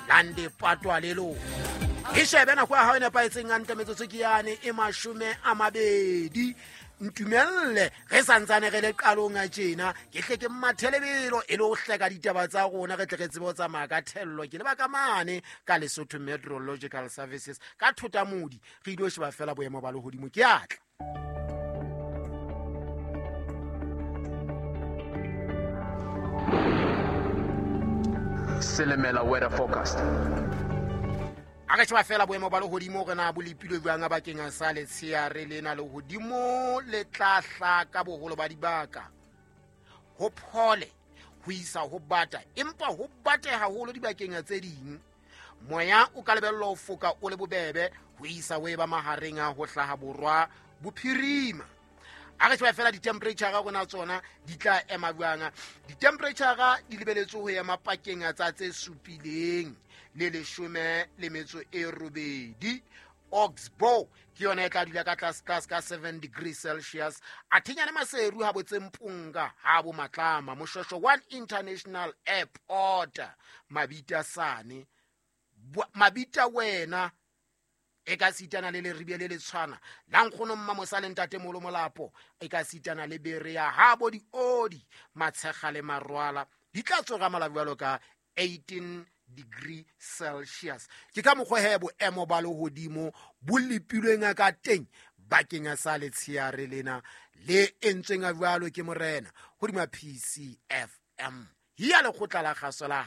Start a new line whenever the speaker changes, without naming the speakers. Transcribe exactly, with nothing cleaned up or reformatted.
Lande patwa le lona e shebe nako ya hao e nepahetseng hantle metsotso ke yane e mashome a mabedi. Ntumelle re santsane re le qalong a tjena ke hle ke mmathelebelo e le ho hleka ditaba tsa rona re tle re tsebe ho tsamaya ka thello. Ke leba ka mane ka Lesotho Meteorological Services ka Thotamodi re ile ho sheba fela boemo ba lehodimo ke atla.
Silimela weather forecast.
A re sheba fela boemo ba lehodimo re na bo lepilwe jwang bakeng sa letsheare lena. Lehodimo le tla hlaka boholo ba dibaka ho phole ho isa ho bata, empa ho bate haholo dibakeng tse ding. Moya o ka lebellwa ho foka o le bobebe ho isa ho eba mahareng a ho hlaha borwa bophirima. A re sheba fela di-temperature rona tsona di tla ema jwang. Di-temperature di lebeletswe ho ema pakeng tsa tse supileng le leshome le metso e robedi. Oxbow ke yona e tla dula ka tlase tlase ka seven degrees Celsius. Athinyane Maseru ha botse Mpunga ha bo Matlama Moshosho one International Airport Mabita sane Mabita wena e ka sitana le leribie le letshwana la nkgono mma mosale ntate molo molapo e ka sitana le bere ya ha bo diodi matshega le marwala di tla tsoga malabjalo ka eighteen degree Celsius. Ke ka mokgwa he boemo ba lehodimo bo lepilweng ka teng bakeng sa letsheare lena le entsweng jwalo ke morena hodima P C F M ya lekgotla la kgaso la